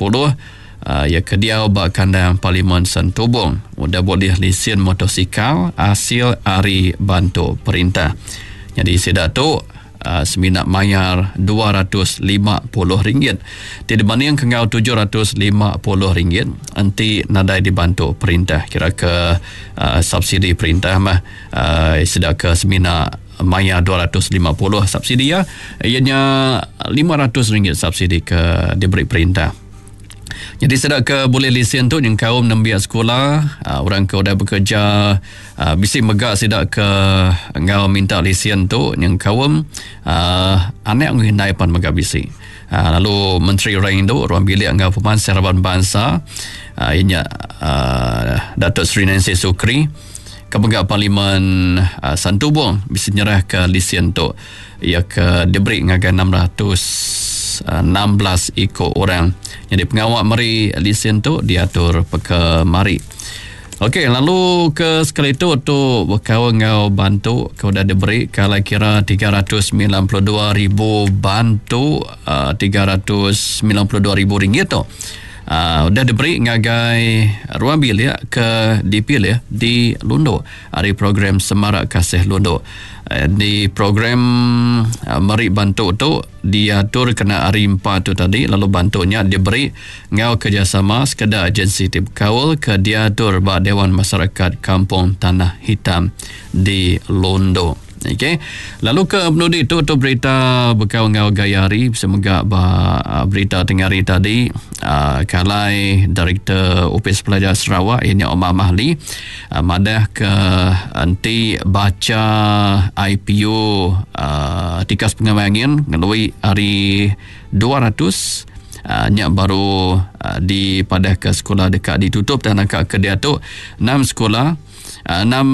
40 iya ke diau ba kandang Parlimen Santubong udah bulih lisin motosikal asil ari bantu perintah. Nyadi sida tu semina mayar RM250 ti dibandingka enggau RM750 enti nadai dibantu perintah. Kira ke subsidi perintah mah sida ke semina mayar 250 subsidi iya iya nya RM500 subsidi ke diberi perintah. Nyadi sida ke bulih lisin tu nyengkaum nembiak sekula, orang ke udah bekereja, bisi mega sida ke enggau minta lisin tu nyengkaum anak enggau indai pan mega bisi. Lalu Menteri Orang Indu, Ruang Bilik enggau Pemansang Raban Bansa iya nya Datuk Seri Nancy Sukri ke mega Parlimen Santubong bisi nyerahka lisin tu. Iya ke diberi ngagai 616 iku orang. Nyadi pengawa meri lisin tu diatur peka mari. Okey, lalu ke sekali tu tu bekaul enggau bantu ke udah diberi ke alai kira 392,000 bantu uh, 392,000 ringgit tu. Uh, udah diberi ngagai ruang bilik ke dipilih di Lundu ari program Semarak Kasih Lundu. Di program meri bantu tu diatur kena hari empat tu tadi lalu bantu nya diberi enggau kerjasama sekeda agensi ti bekaul ke diatur ba Dewan Masyarakat Kampung Tanah Hitam di Lundu. Okey. Lalu ke penudi tu tu berita bekaul enggau gaya hari bisi mega ba berita tengah hari tadi uh, kalai Direktor Opis Pelajar Sarawak iya nya Omar Mahli uh, madah ke enti bacha IPU uh, tikas pengamai angin ngelui ari 200 uh, nya baru uh, dipadah ke sekolah deka ditutup dan naka ke diatu enam sekolah enam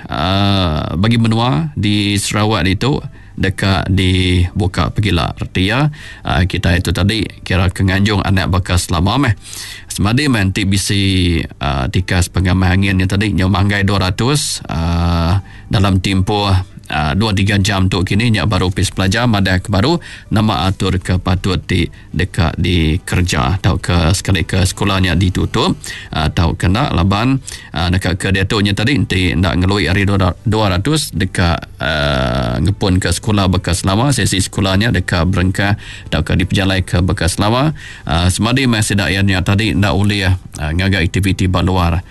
uh, bagi menua di Sarawak ditu deka dibuka pegila. Reti iya uh, kita itu tadi kira ke nganjung anak baka selama meh. Semadi meh enti bisi uh, tikas pengamah angin nya tadi nyau manggai 200 uh, dalam timpuh uh, 2-3 jam tu kini nya baru opis pelajar madah ke baru nama atur ke patut ti deka dikereja tauka sekali ke sekula nya ditutup tauka enda laban neka ke diatu nya tadi enti enda ngelui ari 200 deka ngepun ke sekula baka selama sesi sekula nya deka berengkah tauka dipejalaika baka selama semadi meh sida iya nya tadi enda ulih ngaga aktiviti ba luar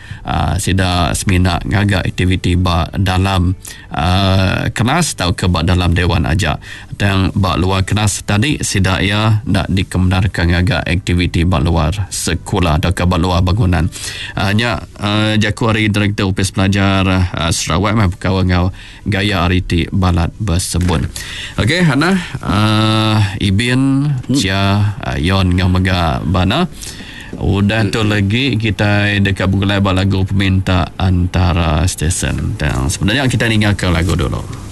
sida semina ngaga aktiviti ba dalam kelas tauka ba dalam dewan aja. Tang ba luar kelas tadi sida iya enda dikemendarka ngaga aktiviti ba luar sekula tauka ba luar bangunan. Uh, nya uh, jaku ari Direktor Opis Pelajar uh, Sarawak meh bekaul enggau gaya hari ti balat besebun. Okey, Hana, uh, Ibin, Chia, uh, Yon enggau mega Bana. Udah tu lagi kitai deka begulai ba lagu peminta antara stesen. Tang sebenarnya kitai ninggalka lagu dulu.